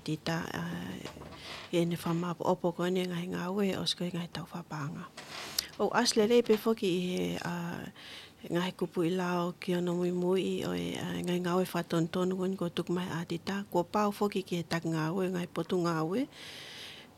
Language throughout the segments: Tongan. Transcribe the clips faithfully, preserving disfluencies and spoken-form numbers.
ʻAtita, ʻa, ʻi heʻene fakamaʻopoʻopo ko eni e ngaahi ngāue ʻosi ko e ngaahi tau fakapaʻanga. ʻOku ʻasi lelei pē foki ʻi he, ʻa, ngaahi kupuʻi lao ki hono muimui ʻo e, ʻa, ngaahi ngāue fakatonutonu ko eni kuo tuku mai ʻe ʻAtita, kuo pau foki ki he taki ngāue, ngaahi potungāue.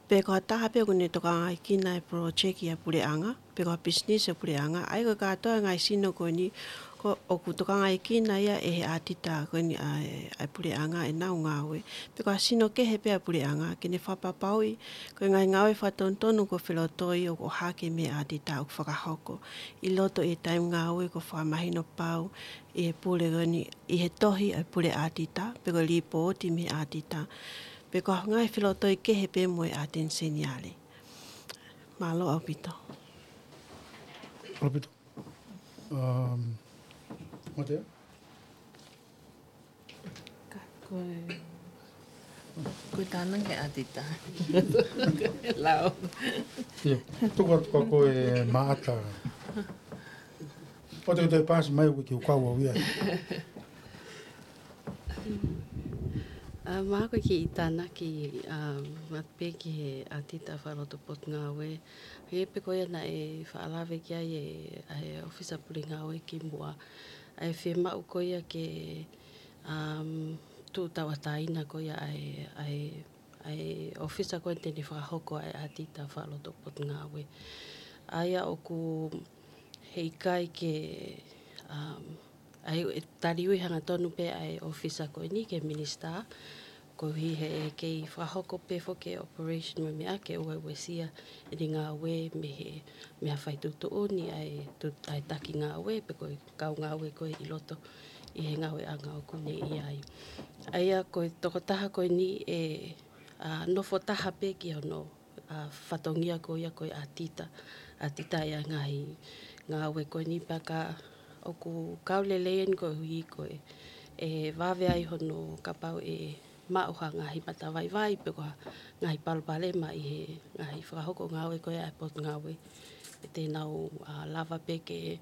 Pe ko ha taha pē ʻoku ne tokangaekina e project ʻa e puleʻanga, pe ko ha business ʻa e puleʻanga, ʻa ia ko e kātoa ngaahi sino ko eni, ko, ʻoku tokangaekina ia ʻe he ʻAtita ko eni ʻa e, ʻa e puleʻanga ʻenau ngāue. Pe ko ha sino kehe pē ʻa e puleʻanga, ke ne fakapapauʻi, ko e ngaahi ngāue fakatonutonu kuo felotoi ʻoku ʻohake mei he ʻAtita ʻoku fakahoko. ʻI loto ʻi he taimi ngāue kuo fakamahino pau ʻi he pule ko eni, ʻi he tohi ʻa e pule ʻAtita, pe ko e lipooti mei he ʻAtita. Pe ko ha ngaahi felotoi kehe pē mo e ʻAteni Seniale. Mālō ʻaupito. ʻAupito. Um, Matea? Ka ko e, ko e tānaki ʻAtita. Lao. Ia, tuku atu ka ko e maʻata. ʻOua te ke toe paasi mai ʻoku ke ukau au ia. ʻA, mahalo ko e kiʻi tānaki, ʻa, atu pē ki he ʻAtita fakaloto potungāue. He pe ko ia naʻe faʻa lave ki ai e, ʻa e ʻofisa pule ngāue kimuʻa. ʻA e fiemaʻu ko ia ke, um, tuʻu tauʻatāina ko ia ʻa e, ʻa e, ʻa e ʻofisa ko eni te ne fakahoko ʻa e ʻAtita fakaloto potungāue. ʻA ia ʻoku heʻikai ke, um, ʻa e, ʻe taliui hangatonu pē ʻa e ʻofisa ko eni ki he minisitā, koeʻuhi he ʻe kei fakahoko pē foki e operation mo e meʻa ke ʻoua ʻe uesia ʻene ngāue mei he, mei ha fai tuʻutuʻuni ʻa e tu-, ʻa e taki ngāue pe ko e kau ngāue ko ē ʻi loto ʻi he ngāueʻanga ʻoku ne ʻi ai. ʻA ia ko e tokotaha ko eni ʻe, ʻa, nofo taha pē ki hono, ʻa, fatongia ko ia ko e ʻAtita. ʻAtita ʻi he ngaahi ngāue ko eni pea ka ʻoku kau lelei eni koeʻuhi ko e, ʻe vave ai hono kapau ʻe maʻu ha ngaahi matavaivai pe ko ha ngaahi palopalema ʻi he ngaahi fakahoko ngāue ko ia ʻa e potungāue. ʻE te nau, ʻa, lava pē ke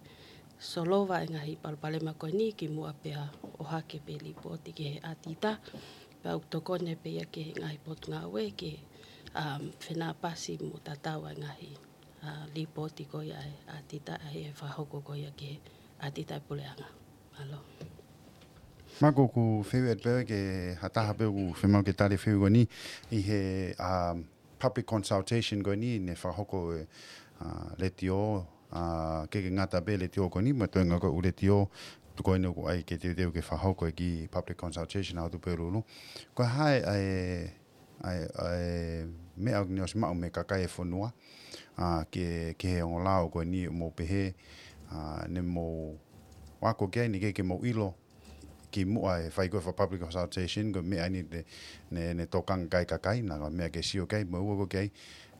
solova e ngaahi palopalema ko eni kimuʻa pea ʻohake pē lipooti ki he ʻAtita. Pea ʻoku tokoni pē ia ki he ngaahi potungāue ke, um, fenāpasi mo tatau ʻa e ngaahi, ʻa, lipooti ko ia ʻa e ʻAtita ʻa e fakahoko ko ia ki he ʻAtita ʻa e puleʻanga. Mālō. Mako, ʻoku fehuʻi atu pē ke ha taha pē ʻoku fiemaʻu ke tali e fehuʻi ko eni ʻi he, um, public consultation ko eni ne fakahoko ʻe, ʻa, letiō, ʻa, ʻikai ke ngata pē letiō ko eni, mo e toenga ko ē ʻū letiō, tuku eni ʻoku ʻai ke teuteu ke fakahoko e kiʻi public consultation ʻa Hotupelulu. Ko e hā e, ʻa e, ʻa e, ʻa e meʻa ʻoku ne ʻosi maʻu mei he kakai e fonua, ʻa, ke, ke he ongo lao ko eni ʻoku mou pehē, ʻa, ne mou ako ki ai ni ke, ke mou ʻilo, kimuʻa e fai ko ē fakapublic consultation, ko e meʻa eni te, ne, ne tokanga ki ai e kakai, naʻa ko e meʻa ke sio ki ai, mo e ua ko ē ki ai,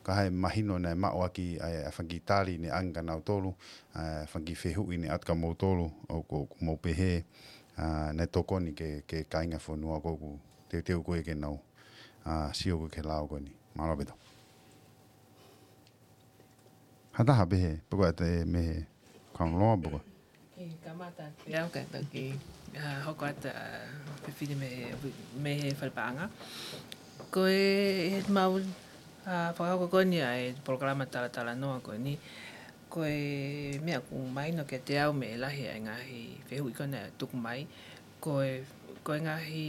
ka ʻi he mahino naʻe maʻu ʻaki ʻa e, ʻa e fanga kiʻi tali ne ʻange kia nautolu, ʻa e fanga kiʻi fehuʻi ne ʻatu kia moutolu, ʻoku, ʻoku mou pehē, ʻa, naʻe tokoni ki he, ki he kāinga fonua ko ē ʻoku teuteu ko ē ke nau, ʻa, sio ko ē ki he lao ko eni. Mālō ʻaupito. Ha taha pē he, pe ko e ʻata e mei he Crown Law, pe ko e. Ke kamata pē au kae toki, ʻa, hoko atu, ʻa, fefine mei he, mei he fale paʻanga. Ko e, he mau, ʻa, fakahoko ko eni ʻa e polokalama talatalanoa ko eni. Ko e meʻa ʻoku mahino kiate au mei he lahi ʻa e ngaahi fehuʻi ko ena ʻe tuku mai. Ko e, ko e ngaahi,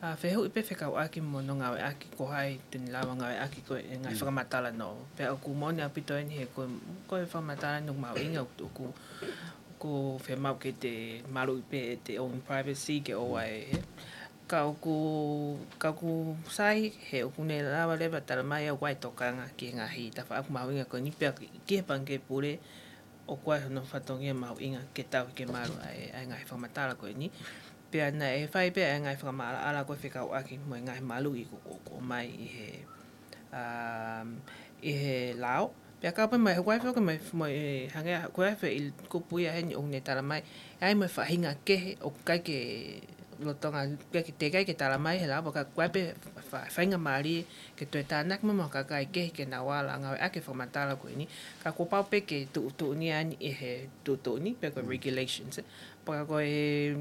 ʻa, fehuʻi pē fekauʻaki mo hono ngāueʻaki ko hai te ne lava ngāueʻaki ko e ngaahi fakamatala noa. Pea ʻoku moʻoni ʻaupito eni he ko e, ko e fakamatala noa mahuʻinga ʻoku, ʻoku, ʻoku fiemaʻu ke te maluʻi pē ʻete own privacy ke ʻoua ʻe, he. Ka ʻoku, ka ʻoku sai he ʻoku ne lava leva tala mai ʻoku ʻi ai e tokanga ki he ngaahi tafaʻaki mahuʻinga ko eni pea ki he Pangikē Pule, ʻoku ʻi ai hono fatongia mahuʻinga ke tauhi ke malu ʻa e, ʻa e ngaahi fakamatala ko eni. Pea naʻe fai pē ʻa e ngaahi fakamaʻalaʻala ko ē fekauʻaki mo e ngaahi maluʻi ko, ko, ko mai ʻi he, um, ʻi he lao. Pea kau pē mai, ʻoku ʻi ai foki mai, mo e hangē, ʻoku ʻi ai e kupu ia heni ʻoku ne tala mai, ʻi ai mo e faʻahinga kehe ʻoku ʻikai ke lolotonga, ʻikai ke, teʻeki ai ke tala mai he lao, ka ʻoku ʻi ai pē fa-, faʻahinga mālie ke toe tānaki mai mo e kakai kehe ke nau ala ngāueʻaki e fakamatala ko eni. Ka kuo pau pē ke tuʻutuʻuni ʻa eni ʻi he tuʻutuʻuni, pe ko e regulations, ē. Pea ka ko e,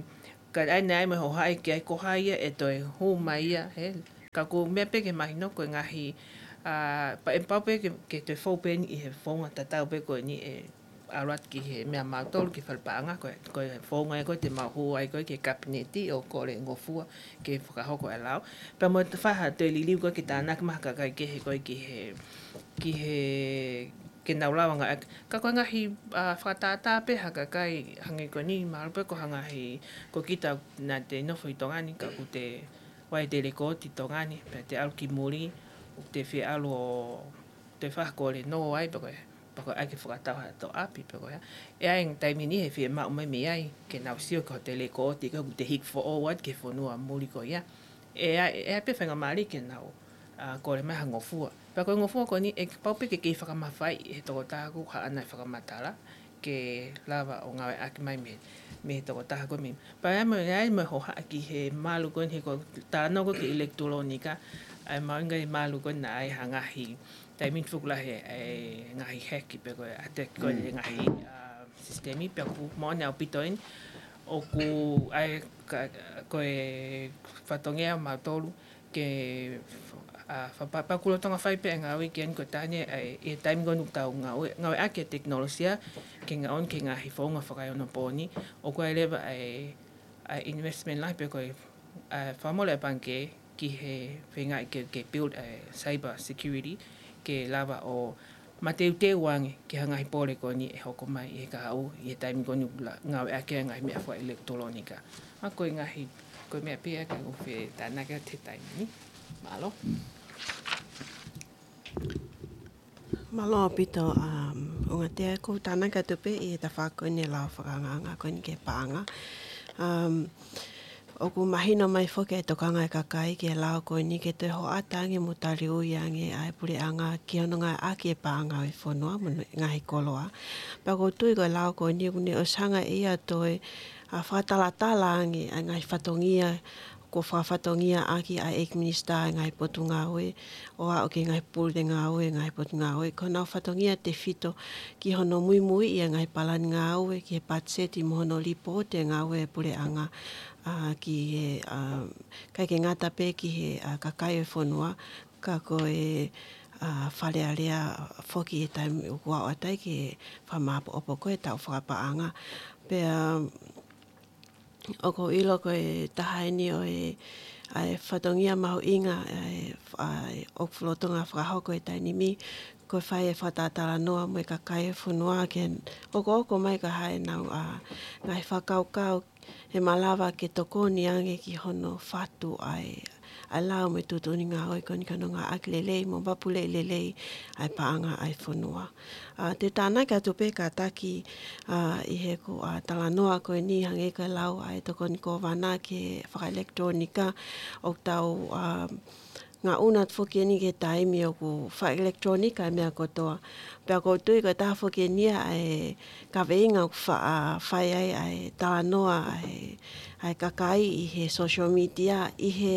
ka ʻi ai, naʻe ʻi ai mo e hohaʻa ki ai ko hai ia ʻe toe hū mai ia, he, Ka ko e meʻa pē ke mahino ko e ngaahi, ʻa, pea ʻe pau pē ke, ke toe fou pē eni ʻi he founga tatau pē ko eni ʻe ʻalu atu ki he meʻa mautolu ki he fale paʻanga, ko e, ko e founga ia ko ē te mau hū ai ko ē ki he kapineti ʻo kole ngofua ke fakahoko e lao. Pea mo e fai ha toe liliu ko ē ke tānaki mai ha kakai kehe ko ē ki he, ki he, ke nau lava ngāueʻaki. Ka ko e ngaahi, ʻa, fakatātā pē ha kakai hangē ko eni, mahalo pē ko ha ngaahi, ko kita naʻa te nofo ʻi Tonga ni, ka ʻoku te ʻoatu e lekooti ʻi Tonga ni, pea te ʻalu ki muli, ʻoku te fie ʻalu ʻo te fakakole noa ai, pe ko e, pe ko e ʻai ke fakatau ha toe ʻapi, pe ko e hā. ʻE ʻi ai e taimi ni he fiemaʻu mai mei ai ke nau sio ki hoʻo lekooti, ka ʻoku te hiki foʻou atu ki he fonua muli ko ia. ʻE ʻi ai, ʻe ʻi ai pē faingamālie ke nau, ʻa, kole mai ha ngofua. Pea ko e ngofua ko eni ʻe pau pē ke kei fakamafaiʻi ʻe he tokotaha ʻoku haʻana e fakamatala ke lava ʻo ngāueʻaki mai mei, mei he tokotaha ko ē mei. Pea ʻe ʻi ai mo e, ʻe ʻi ai mo e hohaʻa ki he malu ko eni he ko e talanoa ko ē ki he ʻilekitulōnika, ʻa e mahuʻinga e malu ko ē naʻe ʻi ai ha ngaahi taimi ni fuku lahi e ngaahi heki pe ko e attack ko ē ʻi he ngaahi, ʻa, sisitemi, pea ʻoku moʻoni ʻaupito eni, ʻoku ʻi ai ka, ko e fatongia mautolu ke, ʻa, fa-, pa-, pea ʻoku lolotonga fai pē e ngāue ki ai ko e taha eni, ʻa, ʻi he taimi ko eni ʻoku tau ngāue, ngāueʻaki e tekinolosia ke ngaohi ki he ngaahi founga fakaeonopooni, ʻoku ʻi ai leva e, ʻa, investment lahi pe ko e, ʻa, fakamole ʻa e pangikē ki he feingaʻi ke, ke build e cyber security ke lava ʻo mateuteu ange ki ha ngaahi pole ko eni ʻe hoko mai ʻi he kahaʻu, ʻi he taimi ko eni ʻoku la-, ngāueʻaki e ngaahi meʻa fakaʻilekitulōnika. ʻA, ko e ngaahi, ko e meʻa pē ia ke u fie tānaki atu he taimi ni. Mālō. Mālō ʻaupito, um, ʻUngatea, ʻoku ou tānaki atu pē ʻi he tafaʻaki ko eni e lao fakaangaanga ko eni ki he paʻanga. Um, ʻoku mahino mai foki e tokanga e kakai ki he lao ko eni ke toe hoʻata ange mo taliui ange ʻa e puleʻanga ki hono ngāueʻaki e paʻanga ʻo e fonua mo e ngaahi koloa. Pea ʻoku ou tui ko e lao ko eni ʻoku ne ʻosi hanga ʻe ia ʻo toe, ʻa, fakatalatala ange ʻa e ngaahi fatongia kuo fakafatongiaʻaki ʻa e ʻEiki Minisitā ʻa e ngaahi potungāue, ʻo aʻu ki he ngaahi pule ngāue, ngaahi potungāue, ko honau fatongia tefito ki hono muimuiʻi ʻa e ngaahi palani ngāue, ki he patiseti mo hono lipooti e ngāue ʻa e puleʻanga, ʻa, ki he, ʻa, ʻikai ke ngata pē ki he, ʻa, kakai ʻo e fonua, ka ko e, ʻa, Fale Alea foki he taimi ʻoku aʻu atu ai ki he fakamāʻopoʻopo ko ē e taʻu fakapaʻanga. Pea, ʻoku ou ʻilo ko e taha eni ʻo e, ʻa e fatongia mahuʻinga, ʻa e, ʻa e ʻoku lolotonga fakahoko he taimi ni, ko e fai e fakatalanoa mo e kakai e fonua ke okoʻoko mai ka ʻi ai ʻenau, ʻa, ngaahi fakakaukau he malava ke tokoni ange ki hono fatu ʻa e, ʻa e lao mo e tuʻutuʻuni ngāue ko eni ki hono ngāueʻaki lelei mo mapuleʻi lelei ʻa e paʻanga ʻa e fonua. ʻA, te u tānaki atu pē kātaki, ʻa, ʻi heʻeku, ʻa, talanoa ko eni hangē ko e lau ʻa e Tokoni Kōvana ki he fakaʻilekitulōnika, ʻoku tau, ʻa, ngaʻunu atu foki eni ki he taimi ʻoku fakaʻilekitulōnika e meʻa kotoa. Pea ʻoku ou tui ko e taha foki eni ia ʻa e kaveinga ʻoku fa-, ʻa, fai ai ʻa e talanoa ʻa e, ʻa e kakai ʻi he social media, ʻi he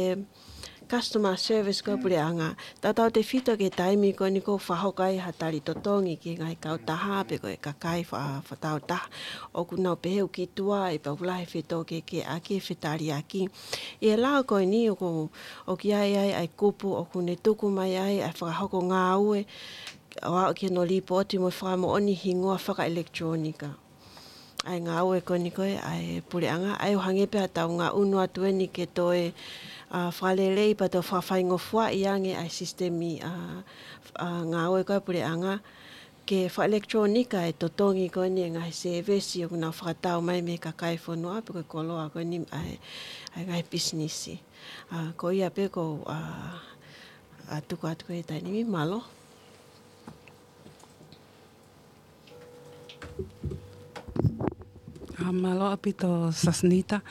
customer service ko ē ʻa e puleʻanga. Tautautefito ki he taimi ko eni ʻoku fakahoko ai ha tali totongi ki he ngaahi kautaha pe ko e kakai fa-, fakakautaha. ʻOku nau pehē ʻoku kituai pea ʻoku lahi e fetōkehekeheʻaki, fetaliaki. ʻI he lao ko eni ʻoku, ʻoku ʻi ai ai ʻa e kupu ʻoku ne tuku mai ai ʻa e fakahoko ngāue ʻo aʻu ki hono lipooti mo e fakamoʻoni hingoa fakaʻilekitulōnika ʻa e ngāue ko eni ko ē ʻa e puleʻanga, ʻa ia ʻoku hangē pē haʻatau ngaʻunu atu eni ke toe, ʻa, fakalelei pea toe fakafaingofuaʻi ange ʻa e sisitemi, ʻa, ʻa, ngāue ko ē ʻa e puleʻanga ke fakaʻilekitulōnika e totongi ko eni e ngaahi sēvesi ʻoku nau fakatau mai mei he kakai fonua pe ko e koloa ko eni ʻa e, ʻa e ngaahi pisinisi. ʻA, ko ia pē ʻoku ou, ʻa, ʻa, tuku atu ko ē he taimi ni, mālō. ʻA, mālō ʻaupito Sasinita,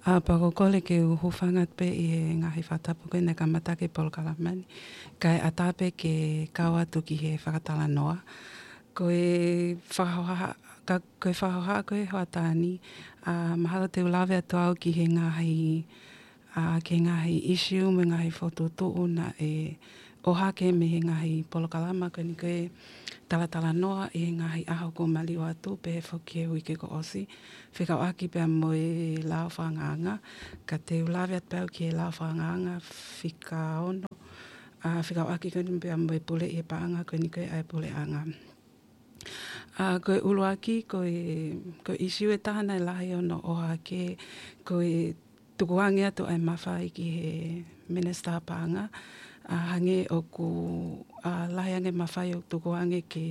ʻa, pea ʻoku ou kole ke u hūfanga atu pē ʻi he ngaahi fakatapu ko ē naʻe kamata ki he polokalama ni, kae ʻatā pē ke kau atu ki he fakatalanoa. Ko e fakahohaʻa, ka, ko e fakahohaʻa ko ē hoʻatā ni, ʻa, mahalo te u lave atu au ki he ngaahi, ʻa, ki he ngaahi ʻisiū mo e ngaahi fokotuʻutuʻu naʻe ʻohake mei he ngaahi polokalama ko eni ko e talatalanoa ʻi he ngaahi ʻaho kuo maliu atu, pehē foki he uike kuo ʻosi, fekauʻaki pea mo e lao fakaangaanga. Ka te u lave atu pē au ki he lao fakaangaanga fika ono, ʻa, fekauʻaki ko eni pea mo e puleʻi e paʻanga ko eni ko e ʻa e puleʻanga. ʻA, ko e ʻuluaki, ko e, ko e ʻisiū ʻe taha naʻe lahi hono ʻohake, ko e tukuange atu ʻa e mafai ki he Minisitā Paʻanga, ʻa, hangē ʻoku, ʻa, lahi ange mafai ʻoku tukuange ki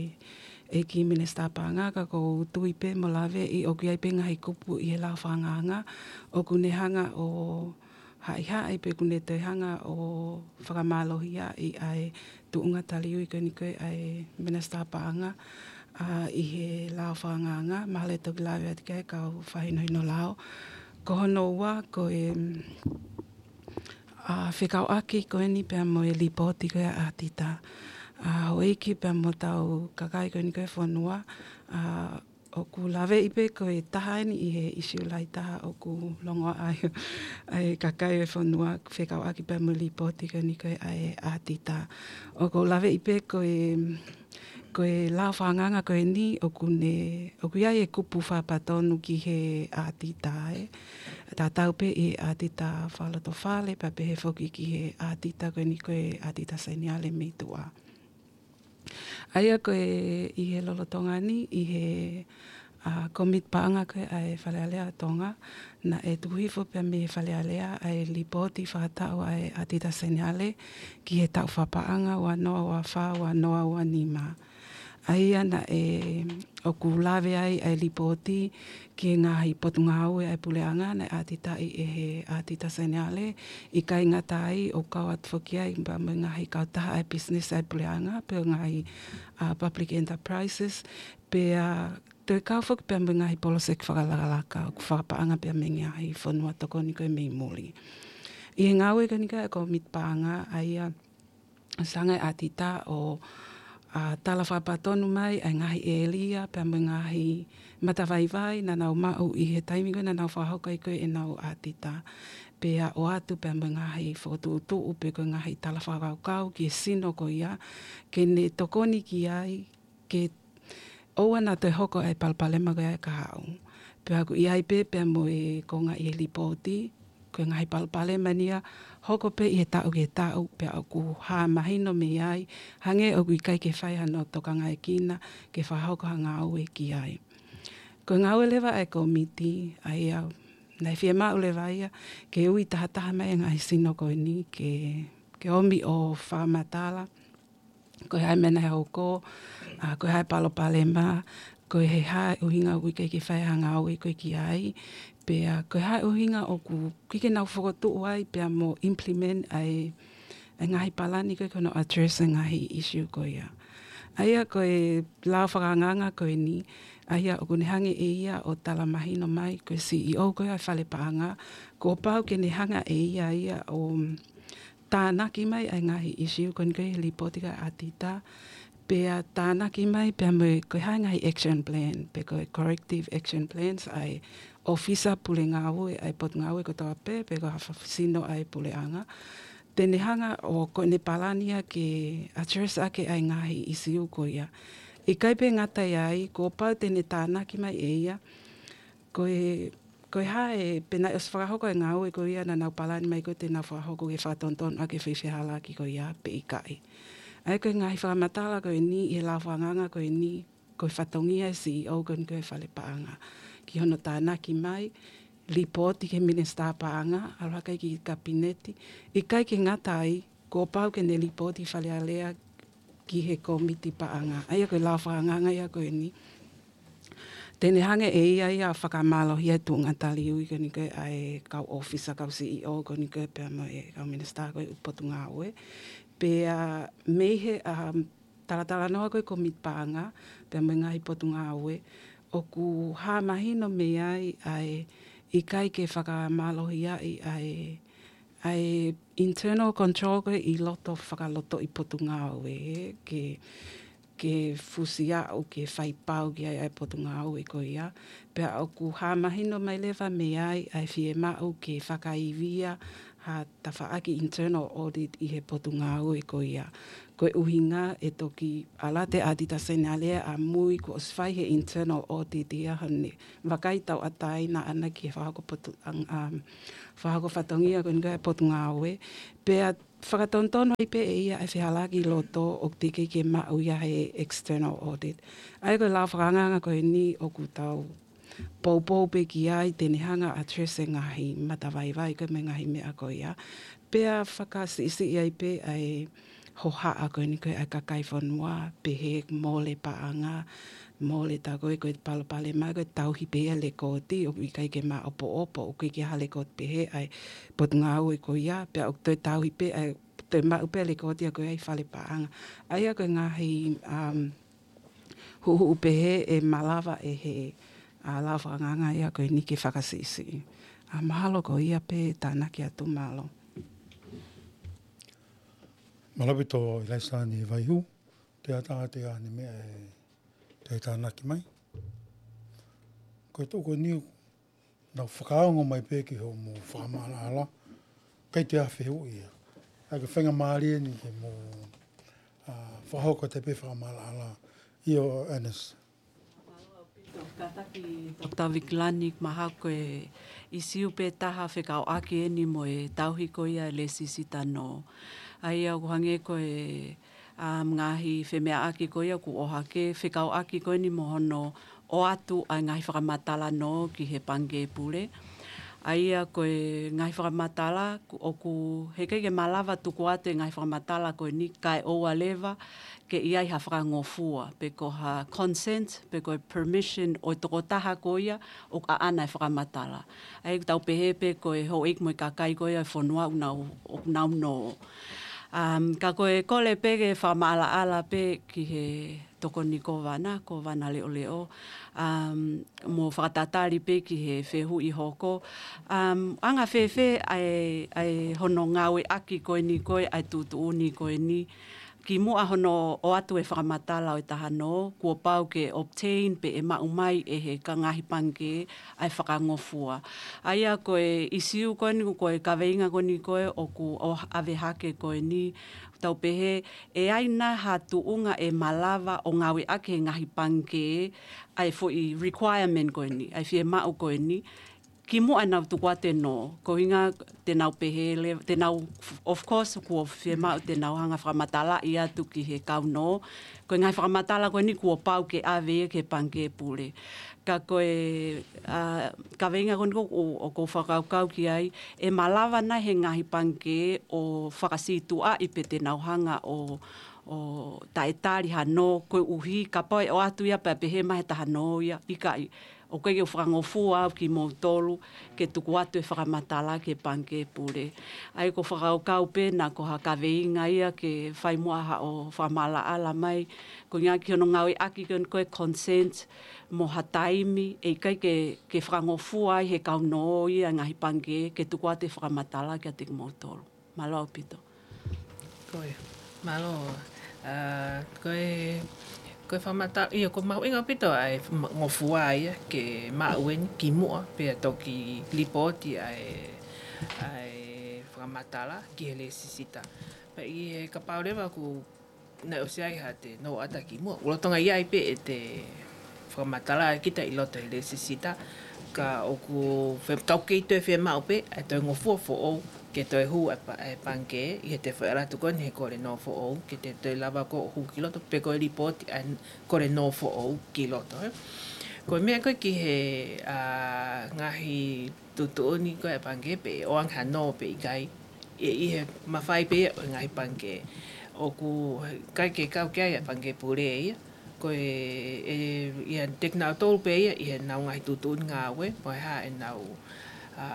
he ʻEiki Minisitā Paʻanga, ka ʻoku ou tui pē mo laveʻi ʻoku ʻi ai pē ngaahi kupu ʻi he lao fakaangaanga ʻoku ne hanga ʻo haʻihaʻi pe ʻoku ne toe hanga ʻo fakamālohiaʻi ʻa e tuʻunga taliui ko eni ko e ʻa e Minisitā Paʻanga, ʻa, ʻi he lao fakaangaanga, mahalo ʻe toki lave atu ki ai e kau fakahinohino lao. Ko hono ua, ko e, ʻa, fekauʻaki ko eni pea mo e lipooti ko e ʻa e ʻatita. ʻA, houʻeiki pea mo hotau kakai ko eni ko e fonua, ʻa, ʻoku laveʻi pē ko e taha eni ʻi he ʻisiū lahi taha ʻoku longoaʻa ai ʻa e kakai e fonua fekauʻaki pea mo e lipooti ko eni ko e ʻa e ʻatita. ʻOku ou laveʻi pē ko e, ko e lao fakaangaanga ko eni ʻoku ne, ʻoku ʻi ai e kupu fakapatonu ki he ʻatita ē. Tatau pē ʻi he ʻatita fakalotofale, pea pehē foki ki he ʻatita ko eni ko e ʻatita seniale mei tuʻa. ʻA ia ko e ʻi he lolotonga ni, ʻi he, ʻa, kōmiti paʻanga ko e ʻa e Fale Alea ʻa Tonga, naʻe tuku hifo pea mei he Fale Alea ʻa e lipooti fakataʻu ʻa e ʻatita seniale ki he taʻu fakapaʻanga ua noa ua fā, ua noa ua nima. ʻA ia naʻe ʻoku lave ai ʻa e lipooti ki he ngaahi potungāue ʻa e puleʻanga naʻe ʻatitaʻi ʻe he ʻatita seniale, ʻikai ngata ai ʻoku kau atu foki ai pea mo e ngaahi kautaha ʻa e business ʻa e puleʻanga, pe ko e ngaahi, ʻa, public enterprises, pea toe kau foki pea mo e ngaahi poloseki fakalakalaka ʻoku fakapaʻanga pea mei he ngaahi fonua tokoni ko e mei muli. ʻI he ngāue ko eni ko e kōmiti paʻanga, ʻa ia ʻoku hanga ʻe he ʻatita ʻo, ʻa, tala fakapatonu mai ʻa e ngaahi ʻēlia pea mo e ngaahi matavaivai naʻa nau maʻu ʻi he taimi ko ē naʻa nau fakahoko ai ko ē ʻenau ʻatita. Pea ʻoatu pea mo e ngaahi fokotuʻutuʻu pe ko e ngaahi tala fakakaukau ki he sino ko ia ke ne tokoni ki ai ke ʻoua naʻa toe hoko ʻa e palopalema ko ia ʻa e kahaʻu. Pea ʻoku ʻi ai pē pea mo e konga ʻi he lipooti, ko e ngaahi palopalema eni ia hoko pē ʻi he taʻu ki he taʻu, pea ʻoku hā mahino mei ai, hangē ʻoku ʻikai ke fai hano tokangaekina ke fakahoko ha ngāue ki ai. Ko e ngāue leva ʻa e kōmiti, ʻa ia naʻe fiemaʻu leva ia ke ui tahataha mai e ngaahi sino ko eni ke, ke ʻomi ʻo fakamatala ko e hā e meʻa naʻe hoko, ʻa, ko e hā e palopalema, ko e hā e ʻuhinga ʻoku ʻikai ke fai ha ngāue ko ē ki ai, pea ko e hā e ʻuhinga ʻoku ʻikai ke nau fokotuʻu ai pea mo implement ʻa e, ʻa e ngaahi palani ko ē ki hono address e ngaahi issue ko ia. ʻA ia ko e lao fakaangaanga ko eni, ʻa ia ʻoku ne hanga ʻe ia ʻo tala mahino mai ko e C E O ko ia ʻa e fale paʻanga, kuo pau ke ne hanga ʻe ia ia ʻo tānaki mai ʻa e ngaahi issue ko eni ko e lipooti ko e ʻatita, pea tānaki mai pea mo e ko e hā e ngaahi action plan, pe ko e corrective action plans ʻa e ʻōfisa pule ngāue ʻa e potungāue kotoa pē, pe ko ha fa-, sino ʻa e puleʻanga. Te ne hanga ʻo ko ʻene palani ia ke address ʻaki ʻa e ngaahi issue ko ia. ʻIkai pē ngata ai, kuo pau te ne tānaki mai ʻe ia, ko e, ko e hā e, pe naʻe ʻosi fakahoko e ngāue ko ia naʻa nau palani mai ko ē te nau fakahoko ke fakatonutonu ʻaki e faifehālaaki ko ia pe ʻikai. ʻA ia ko e ngaahi fakamatala ko eni ʻi he lao fakaangaanga ko eni, ko e fatongia e C E O ko eni ko e fale paʻanga ki hono tānaki mai, lipooti ki he Minisitā Paʻanga, ʻalu hake ki he Kapineti, ʻikai ke ngata ai, kuo pau ke ne lipooti Fale Alea ki he kōmiti paʻanga. ʻA ia ko e lao fakaangaanga ia ko eni. Te ne hanga ʻe ia ia ʻo fakamālohia e tuʻunga taliui ko eni ko e ʻa e kau ʻōfisa, kau C E O ko eni ko e pea mo e kau minisitā ko e potungāue. Pea mei he, um, talatalanoa ko e kōmiti paʻanga pea mo e ngaahi potungāue, ʻoku hā mahino mei ai ʻa e ʻikai ke fakamālohiaʻi ʻa e ʻa e internal control ko ē ʻi loto fakalotoʻi potungāue, ke, ke fusi aʻu, ke fai pau ki ai ʻa e potungāue ko ia. Pea ʻoku hā mahino mai leva mei ai ʻa e fiemaʻu ke fakaivia ʻa tafaʻaki internal audit ʻi he potungāue ko ia. Ko e ʻuhinga ʻe toki ʻalu atu ʻa Tita Seniale ʻo ʻamui kuo ʻosi fai he internal audit ia hone vakai tauʻatāina ʻana ki he fakahoko potu-, ang-, um, fakahoko fatongia ko eni ko e potungāue. Pea fakatonutonu ai pē ʻe ia e fehālaaki ʻi loto ʻoku teʻeki ke maʻu ia he external audit. ʻA ia ko e lao fakaangaanga ko eni ʻoku tau poupou pē ki ai te ne hanga ʻo address e ngaahi matavaivai ko e mo e ngaahi meʻa ko ia. Pea fakasiʻisiʻi ai pē ʻa e hohaʻa ko eni ko e ʻa e kakai fonua, pehē mole paʻanga, mole tā ko e ko e palopalema ko e tauhi pē ia e lekooti, ʻoku ʻikai ke maʻopoʻopo, ʻoku ʻikai ke ʻi ai ha lekooti pehē ʻa e potungāue ko ia, pea ʻoku toe tauhi pē ʻa e toe maʻu pē e lekooti ia ko ia ʻi fale paʻanga. ʻA ia ko e ngaahi, um, huʻuhuʻu pehē ʻe malava ʻe he, ʻa, lao fakaangaanga ia ko eni ke fakasiʻisiʻi. ʻA, mahalo ko ia pē tānaki atu, mālō. Mālō ʻaupito ʻIlaisa Niʻivaihu, te ata te ane meʻa ʻe te tānaki mai. Ko e tuʻu ko eni ʻoku nau fakaongo mai pē ki hoʻomou fakamaʻalaʻala, ʻikai te ʻi ai ha fehuʻi ia. ʻA ia ko e faingamālie eni ke mou, ʻa, fakahoko atu pē fakamaʻalaʻala. ʻIo, Ernest. Kātaki Doctor Vikilani, mahalo ko e ʻīsiu pē taha fekauʻaki eni mo e tauhi ko ia e lēsisita nō. ʻA ia ʻoku hangē ko e, um, ngaahi femeʻaʻaki ko ia kuo ʻohake fekauʻaki ko eni mo hono ʻoatu ʻa e ngaahi fakamatala nō ki he Pangikē Pule. ʻA ia ko e ngaahi fakamatala, ku-, ʻoku heʻikai ke malava tuku atu e ngaahi fakamatala ko eni kae ʻoua leva ke ʻi ai ha fakangofua, pe ko ha consent, pe ko e permission ʻo e tokotaha ko ia ʻoku ʻaʻana e fakamatala. ʻA ia ʻoku tau pehē pē ko e houʻeiki mo e kakai ko ia e fonua ʻoku nau, ʻoku nau nō. Um, ka ko e kole pē ke fakamaʻalaʻala pē ki he tokoni Kōvana, Kōvana Leʻoleʻo, um, mo fakatatali pē ki he fehuʻi hoko. Um, anga fēfē ʻa e, ʻa e hono ngāueʻaki ko eni ko e ʻa e tuʻutuʻuni ko eni, kimuʻa hono ʻoatu e fakamatala ʻo e taha nō, kuo pau ke obtain pe ʻe maʻu mai ʻe he ka ngaahi pangikē ʻa e fakangofua. ʻA ia ko e ʻīsiu ko eni, ko e kaveinga ko eni ko e ʻoku ʻave hake ko eni, tau pehē, ʻe ʻi ai nai ha tuʻunga ʻe malava ʻo ngāueʻaki he ngaahi pangikē ʻa e foʻi requirement ko eni, ʻa e fiemaʻu ko eni, kimuʻa ʻenau tuku atu e nō, ko e ʻuhinga te nau pehē leva, te nau, of course, kuo fiemaʻu te nau hanga fakamatalaʻi atu ki he kau nō, ko e ngaahi fakamatala ko eni kuo pau ke ʻave ia ki he Pangikē Pule. Ka ko e, ʻa, kaveinga ko eni ko, ʻo, ʻoku ou fakakaukau ki ai, ʻe malava nai he ngaahi pangikē ʻo fakasītuʻaʻi pe te nau hanga ʻo, ʻo taʻetali ha nō koeʻuhi, kapau ʻe ʻoatu ia pea pehē mai he taha nō ia, ʻikai, ʻoku ʻikai ke u fakangofua au kimoutolu ke tuku atu e fakamatala ki he Pangikē Pule. ʻA ia ʻoku ou fakakaukau pē naʻa ko ha kaveinga ia ke fai muʻa haʻo fakamaʻalaʻala mai, ko e ʻuhinga ki hono ngāueʻaki ko eni ko e consent mo ha taimi ʻe ʻikai ke, ke fakangofua ai he kau nō ia ngaahi pangikē ke tuku atu e fakamatala kiate kimoutolu. Mālō ʻaupito. Ko ia. Mālō. ʻA, ko e, ko e fakamatala, ʻio, ʻoku mahuʻinga ʻaupito ʻa e ma-, ngofua ia ke maʻu eni kimuʻa, pea toki lipooti ʻa e, ʻa e fakamatala ki he lēsisita. Pea ʻi he kapau leva ʻoku naʻe ʻosi ʻi ai ha te nō ʻata kimuʻa, ʻoku lolotonga ʻi ai pē ʻete fakamatala kita ʻi loto he lēsisita, ka ʻoku fe-, tau kei toe fiemaʻu pē ʻa e toe ngofua foʻou, ke toe hū ʻa e pa-, ʻa e pangikē, ʻi heʻete foʻi ʻalu atu ko eni he kole nō foʻou, ke te toe lava ko ē ʻo hū ki loto, pe ko e lipooti ʻa e kole nō foʻou ki loto, ē. Ko e meʻa ko ē ki he, ʻa, ngaahi tuʻutuʻuni ko ē ʻa e pangikē pe ʻoange ha nō pe ʻikai, ʻe ʻi he mafai pē ia ʻo e ngaahi pangikē. ʻOku ʻikai ke kau ki ai ʻa e Pangikē Pule ia, ko e, ʻe, ʻi he tekinautolu pē ia ʻi heʻenau ngaahi tuʻutuʻuni ngāue, mo e hā ʻenau, ʻa,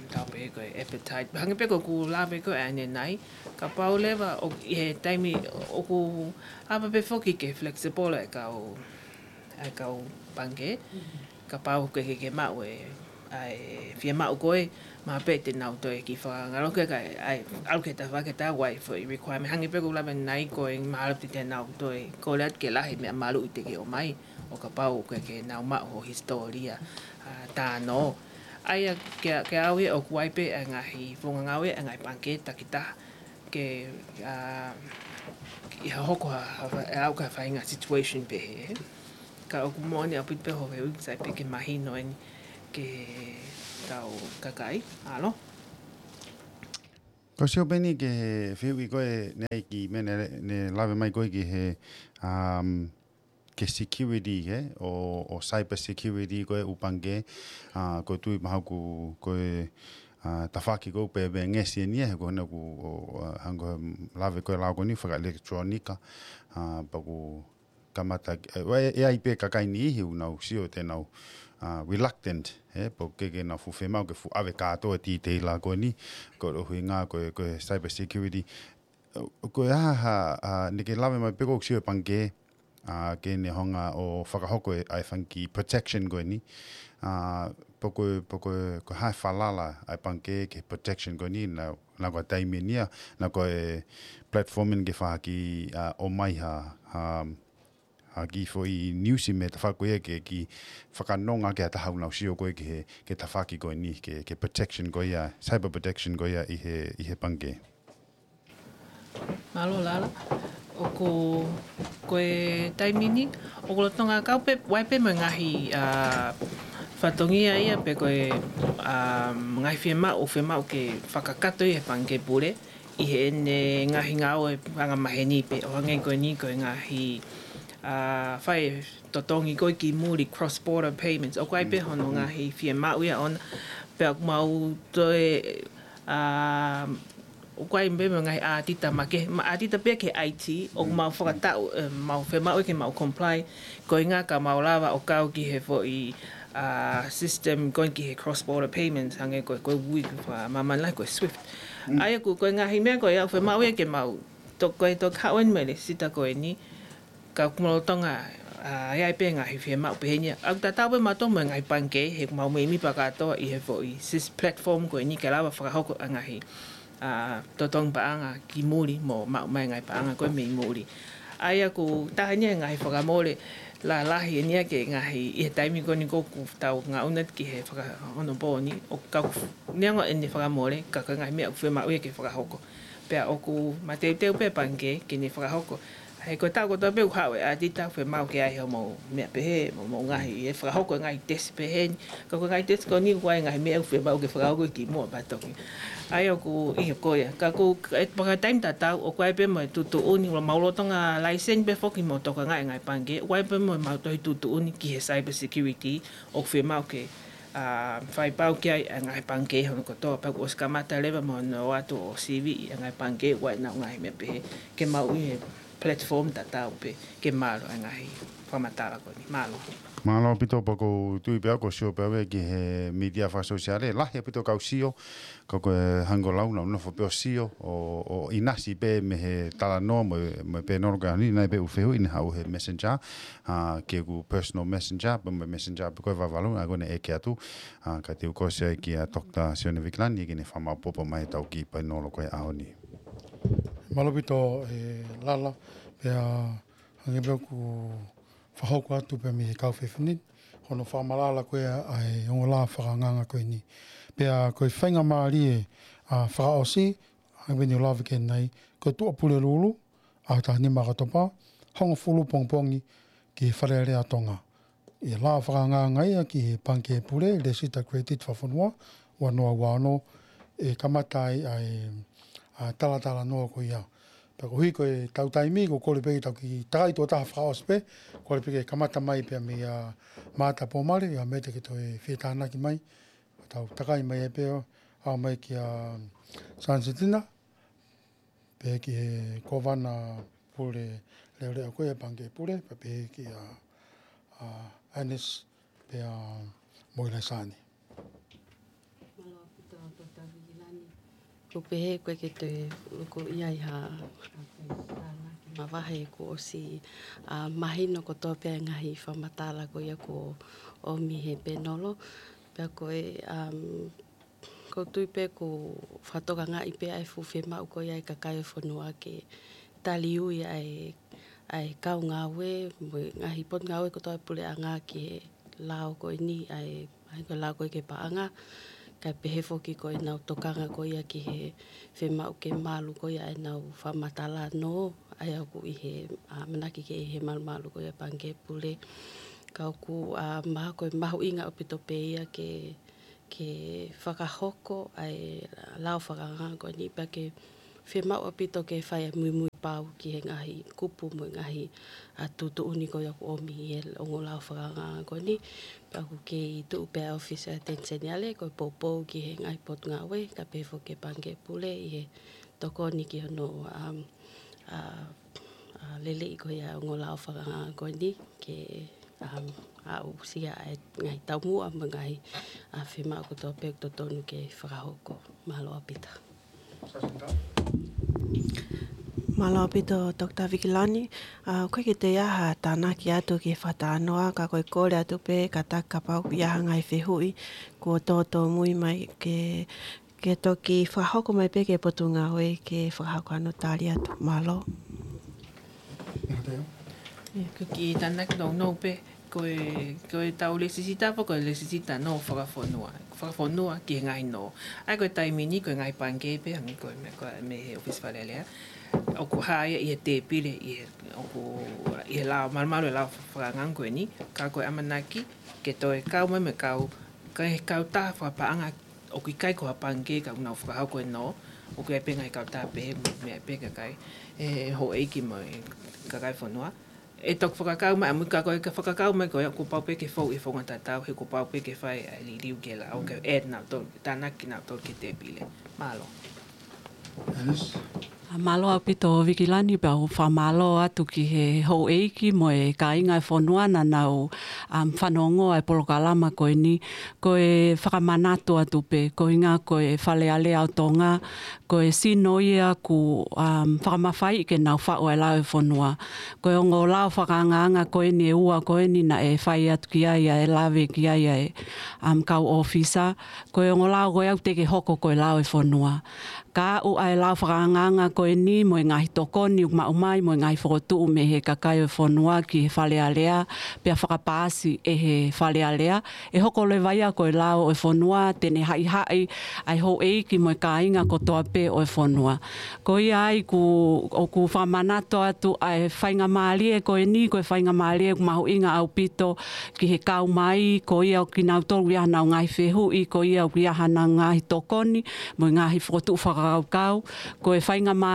tau pehē ko e appetite. Hangē pē ko ʻeku lave ko ē ʻanenai, kapau leva ʻo, ʻi he taimi ʻoku ʻapa pē foki ke flexible ʻa e kau, ʻa e kau pangikē. Kapau ʻoku ʻikai ke, ke maʻu e, ʻa e fiemaʻu ko ē, mahalo pē te nau toe kiʻi fakangaloke kae, ʻa e, ʻalu ki he tafaʻaki ʻe taha ʻoku ʻi ai e foʻi requirement. Hangē pē ko ʻeku lave ʻanenai ko e mahalo pē te nau toe kole atu ke lahi e meʻa maluʻi te ke ʻomai, ʻo kapau ʻoku ʻikai ke nau maʻu hoʻo hisitōlia, ʻa, tā nō. ʻA ia ke, ke ʻave ʻoku ʻi ai pē ʻa e ngaahi founga ngāue ʻa e ngaahi pangikē takitaha ke, ʻa, ʻi ha hoko ha, ha, ha, ʻe aʻu ki ha faʻahinga situation pehē. Ka ʻoku moʻoni ʻaupito pē hoʻo fehuʻi, sai pē ke mahino eni ki heʻetau kakai. Mālō. Ko e sio pē eni ki he fehuʻi ko ē naʻe ʻi he meʻa naʻe, naʻe lave mai ko ē ki he, um, ki he security, he, ʻo, ʻo cyber security ko ē ʻū pangikē, ʻa, ko e tui mahalo ʻoku, ko e, ʻa, tafaʻaki ko ē pē, pē ngesi eni ia, he ko ena ʻoku, ʻo, ʻa, hangē ko e lave ko ē ʻa e lao ko eni fakaʻelekitulōnika, ʻa, pea ʻoku kamata, ʻe, ʻe, ʻe ʻi ai pē kakai niʻihi ʻoku nau sio te nau, ʻa, reluctant, he, pe ʻoku ʻikai ke nau fuʻu fiemaʻu ke fuʻu ʻave kātoa e detail ko eni, ko e ʻuhinga ko e, ko e cyber security. Ko e hā, hā, ʻa, naʻe ʻikai ke lave mai pē ko e sio e pangikē, ʻa, ke ne hanga ʻo fakahoko e, ʻa e fanga kiʻi protection ko eni. ʻA, pe ko e, pe ko e, ko e hā e falala ʻa e pangikē ki he protection ko eni, naʻa, naʻa ko e taimi eni ia, naʻa ko e platform eni ke fakahā, ʻa, ʻomai ha, ha, ha kiʻi foʻi news mei he tafaʻaki ko ia ke, ke fakanonga ki ha taha ʻoku nau sio ko ē ki he, ki he tafaʻaki ko eni, ki he, ki he protection ko ia, cyber protection ko ia ʻi he, ʻi he pangikē. Mālō Lala. ʻOku, ko e taimi ni, ʻoku lolotonga kau pē, ʻoku ʻi ai pē mo e ngaahi, ʻa, fatongia ia pe ko e, ʻa, ngaahi fiemaʻu, fiemaʻu ke fakakakato ʻi he pangikē pule, ʻi heʻene ngaahi ngāue angamaheni pē, ʻo hangē ko eni ko e ngaahi, ʻa, fai totongi ko ē ki muli, cross border payments, ʻoku ʻi ai pē hono ngaahi fiemaʻu ia ʻona, pea ʻoku mau toe, ʻa, ʻoku ʻi ai pē mo e ngaahi ʻatita makehe, ma ʻatita pē ki he I T, ʻoku mau fakataʻu, ʻe, mau fiemaʻu ke mau comply, ko e ʻuhinga ka mau lava ʻo kau ki he foʻi, ʻa, system ko ē ki he cross border payments, hangē ko e, ko e ui fakamāmani lahi ko e SWIFT. ʻA ia ʻoku, ko e ngaahi meʻa ko ia ʻoku fiemaʻu ia ke mau, to, ko e toki haʻu eni mo e lēsisita ko eni, ka ʻoku mau lolotonga, ʻa, ʻi ai pē ngaahi fiemaʻu pehē ni ia. ʻOku tatau pē mautolu mo e ngaahi pangikē, he ʻoku mau meimei fakakātoa ʻi he foʻi SIS platform ko eni ke lava fakahoko ʻa e ngaahi, ʻa, totongi paʻanga ki muli mo maʻu mai ngaahi paʻanga ko ē mei muli. ʻA ia ʻoku taha eni e ngaahi fakamole lalahi eni ia ki he ngaahi, ʻi he taimi ko eni ʻoku tau ngaʻunu ki he fakaonopō ni, ʻoku kau neongo ʻene fakamole, ka ko e ngaahi meʻa ʻoku fiemaʻu ia ke fakahoko. Pea ʻoku mateuteu pē pangikē ke ne fakahoko. He ko e taʻu kotoa pē ʻoku haʻu e ʻatita ʻoku fiemaʻu ke ʻi ai hoʻomou meʻa pehē, mo, mo ngaahi, ʻe fakahoko e ngaahi tesi pehē ni. Ka ko e ngaahi tesi ko eni ʻoku ʻi ai e ngaahi meʻa ʻoku fiemaʻu ke fakahoko ki muʻa pea toki. ʻA ia ʻoku ʻi ai ko ia. Ka ko e fakataimi tatau, ʻoku ʻi ai pē mo e tuʻutuʻuni, ʻoku mau lolotonga laiseni pē foki mo tokangaʻi e ngaahi pangikē, ʻoku ʻi ai pē mo ʻemau tohi tuʻutuʻuni ki he cyber security, ʻoku fiemaʻu ke, ʻa, fai pau ki ai e ngaahi pangikē hono kotoa, pea kuo ʻosi kamata leva mo hono ʻoatu ʻo sivi ʻi he ngaahi pangikē ʻoku ʻi ai ʻenau ngaahi meʻa pehē, ke mau ʻi he platform tatau pē, ke mālō e ngaahi fakamatala ko eni. Mālō. Mālō ʻaupito. Pea ʻoku ou tui pē au ʻoku sio pē au ki he mītia fakasōsiale, lahi ʻaupito kau sio, ka ko e hangē ko e lau naʻa nau nofo pē ʻo sio, ʻo, ʻo ʻinasi pē mei he talanoa mo, mo e pēnolo ko eni, naʻe pē ʻū fehuʻi naʻe haʻu he Messenger, ʻa, ki heʻeku personal Messenger, pea mo e Messenger pē ko ē Vavalu, ʻa, ko ʻene ʻeke atu, ʻa, ka te u kole atu ai kia Doctor Sione Vikilani, ke ne fakamaʻopoʻopo mai ʻetau kiʻi pēnolo ko ē ʻaho ni. Mālō ʻaupito, ʻe Lala, pea hangē pē ʻoku fakahoko atu pē mei he kau fefine, hono fakamatala ko ē ʻa e ongo lā fakaangaanga ko eni. Pea ko e faingamālie, ʻa, fakaʻosi, hangē pē naʻa ku lave ki ai, ko e Tuʻapulelulu, ʻaho taha nima ʻOkatopa, hongofulu pongipongi ki he Fale Alea ʻo Tonga. ʻI he lā fakaangaanga ia ki he Pangikē Pule, Lēsisita Credit Fakafonua, ua noa ua ono, ʻe kamata ai ʻa e, ʻa, talatalanoa ko ia. Pea koeʻuhi ko ʻetau taimi, ʻoku ou kole pē ke tau kiʻi takai tuʻo taha fakaʻosi pē, kole pē ke kamata mai pē mei a Maata Pōmale, ʻa Mete ke toe fie tānaki mai, tau takai mai ai pē, ʻalu mai kia Sansitina, pehē ki he Kōvana Pule Leʻoleʻo ko ia Pangikē Pule, pea pehē kia, ʻa, Ernest, pea mo Ilaisani. Mālō ʻaupito Doctor Vigilani. Ko e pehē ko ē ke toe ʻoku ʻi ai ha, ha, ha, mavahe kuo ʻosi, ʻa, mahino kotoa pē ʻa e ngaahi fakamatala ko ia kuo ʻomi he pēnolo. Pea ko e, um, ʻoku ou tui pē ʻoku fakatokangaʻi pē ʻa e fuʻu fiemaʻu ko ia ʻa e kakai ʻo e fonua ke taliui ʻa e, ʻa e kau ngāue, mo e ngaahi potungāue kotoa ʻa e puleʻanga ki he lao ko eni ʻa e, ʻA ia ko e lao ko ē ki he paʻanga, kae pehē foki ko ʻenau tokanga ko ia ki he fiemaʻu ke malu ko ia ʻenau fakamatala nō, ʻa ia ʻoku ʻi he, ʻa, ʻamanaki ke ʻi he malumalu ko ia Pangikē Pule. Ka ʻoku, ʻa, mahalo ko e mahuʻinga ʻaupito pē ia ke, ke fakahoko ʻa e lao fakaangaanga ko eni pea ke fiemaʻu ʻaupito ke fai ʻa e muimui pau ki he ngaahi kupu mo e ngaahi, ʻa, tuʻutuʻuni ko ia ʻoku ʻomi ʻi he ongo lao fakaangaanga ko eni. Pea ʻoku kei tuʻu pē ʻa e ʻOfisi ʻa e ʻAteni Seniale ko e poupou ki he ngaahi potungāue, kae pehē foki ki he Pangikē Pule ʻi he tokoni ki hono, um, ʻa, ʻa, lelei ko ia ongo lao fakaangaanga ko eni ke, um, aʻusia ʻa e ngaahi taumuʻa mo e ngaahi, ʻa, fiemaʻu kotoa pē ʻoku totonu ke fakahoko. Mālō ʻaupito. Mālō ʻaupito, Doctor Vikilani. ʻA, ʻoku ʻikai ke toe ʻi ai ha tānaki atu ki he fakatalanoa, ka ko e kole atu pē, kātaki kapau ʻoku ʻi ai ha ngaahi fehuʻi kuo tōtōmui mai ke, ke toki fakahoko mai pē ki he potungāue ke fakahoko hano tali atu. Mālō. ʻIo, ko e kiʻi tānaki nounou pē, ko e, ko ʻetau lēsisita pē, ko e lēsisita nō fakafonua, fakafonua ki he ngaahi nō. ʻA ia ko e taimi ni, ko e ngaahi pangikē pē, hangē ko e meʻa ko ē mei he ʻOfisi Fale Alea. ʻOku hā ia ʻi he tēpile, ʻi he, ʻoku, ʻi he lao, malumalu e lao fakaangaanga ko eni, ka ko e ʻamanaki ke toe kau mai mo e kau, ka e kautaha fakapaʻanga ʻoku ʻikai ko ha pangikē ka ʻoku nau fakahoko e nō, ʻoku ʻi ai pē ngaahi kautaha pehē, meʻa pē kakai, ʻe houʻeiki mo e kakai fonua. ʻE toki fakakau mai, ʻa mui ka ko e ka fakakau mai ko ia, kuo pau pē ke fou ʻi he founga tatau, he kuo pau pē ke fai ʻa e liliu ki he lao, ke add nautolu, tānaki nautolu ki he tēpile. Mālō. Alice? ʻA, mālō ʻaupito Vikilani, pea ʻoku ou fakamālō atu ki he houʻeiki mo e kāinga e fonua naʻa nau, um, fanongo ʻa e polokalama ko eni, ko e fakamanatu atu pē, ko e ʻuhinga ko e Fale Alea ʻo Tonga, ko e sino ia ʻoku, um, fakamafaiʻi ke nau faʻu ʻa e lao e fonua. Ko e ongo lao fakaangaanga ko eni ʻe ua ko eni naʻe fai atu ki ai ʻa e lave ki ai ʻa e, um, kau ʻōfisa. Ko e ongo lao ko ia ʻoku teʻeki hoko ko e lao e fonua. Ka aʻu ʻa e lao fakaangaanga ko eni mo e ngaahi tokoni ʻoku maʻu mai mo e ngaahi fokotuʻu mei he kakai ʻo e fonua ki he Fale Alea, pea fakapaasi ʻe he Fale Alea, ʻe hoko leva ia ko e lao ʻo e fonua, te ne haʻihaʻi ʻa e houʻeiki mo e kāinga kotoa pē ʻo e fonua. Ko ia ai ʻoku, ʻoku fakamanatu atu ʻa e faingamālie ko eni, ko e faingamālie ʻoku mahuʻinga ʻaupito ki he kau mai, ko ia ʻoku kinautolu ʻoku ʻi ai hanau ngaahi fehuʻi, ko ia ʻoku ʻi ai hanau ngaahi tokoni, mo e ngaahi fokotuʻu fakakaukau, ko e faingamālie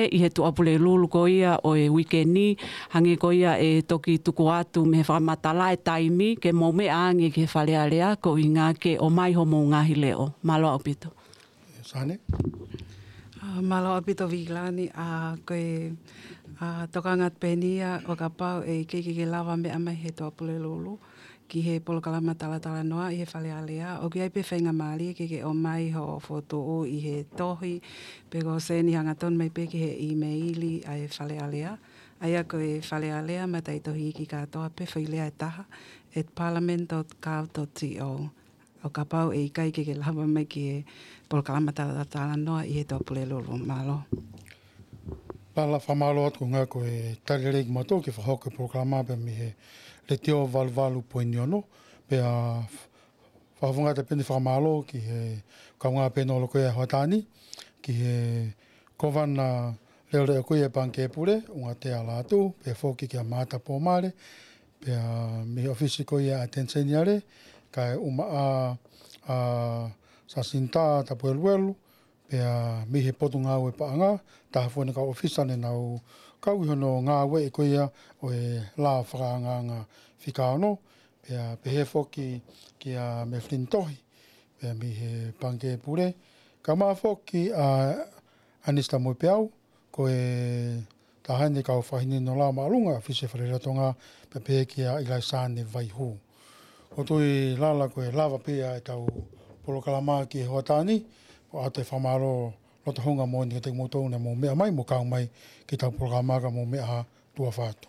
ʻi he Tuʻapulelulu ko ia ʻo e uike ni, hangē ko ia ʻe toki tuku atu mei he fakamatala e taimi ke mou meʻa ange ki he Fale Alea, ko e ʻuhinga ke ʻomai homou ngaahi leʻo. Mālō ʻaupito. Sane? ʻA, mālō ʻaupito Vikilani, ʻa, ko e, ʻa, tokanga pē eni ia ʻo kapau ʻe ʻikai ke ke lava meʻa mai he Tuʻapulelulu ki he polokalama talatalanoa ʻi he Fale Alea. ʻOku ʻi ai pē faingamālie ke ke ʻomai hoʻo fokotuʻu ʻi he tohi, pe ko e send hangatonu mai pē ki he ʻīmeili ʻa e Fale Alea. ʻA ia ko e Fale Alea, mataʻitohi iiki kātoa pē, foʻi lea ʻe taha, at parliament dot gov dot T O. ʻO kapau ʻe ʻikai ke ke lava mai ki he polokalama talatalanoa ʻi he Tuʻapulelulu. Mālō. Pala fakamālō atu ko e ʻuhinga ko e tali lelei kimautolu ke fakahoko e polokalama pē mei he Letiō valu valu poini ono, pea fakafofonga atu pē ʻeni fakamālō ki he kaungā pānele ko ia ʻa e hoʻatā ni, ki he Kōvana Leʻoleʻo ko ia ʻo e Pangikē Pule, Ungatea Lātū, pea foki kia Maata Pōmale, pea mei he ʻOfisi ko ia ʻa e ʻAteni Seniale, kae ʻumaʻā ʻa Sasinitā Tapueluelu, pea mei he Potungāue Paʻanga, taha fua ʻeni e kau ʻōfisa ne nau kau ʻi hono ngāueʻi ko ia ʻo e lao fakaangaanga fika ono, pea pehē foki kia Mefilini Tohi, pea mei he Pangikē Pule, kae ʻumaʻā foki ʻa ʻAnisita Moepeau, ko e taha ʻeni e kau fakahinohino lao māʻolunga ʻa e ʻOfisi Fale Alea Tonga, pea pehē kia ʻIlaisane Vaihū. ʻOku ou tui Lala ko e lava pē ia ʻetau polokalama ki he hoʻatā ni, ʻoatu e fakamālō loto houngaʻia moʻoni kiate kimoutolu naʻa mou meʻa mai mo kau mai ki heʻetau polokalama, ka mou meʻa ā, tuʻa ʻofa atu.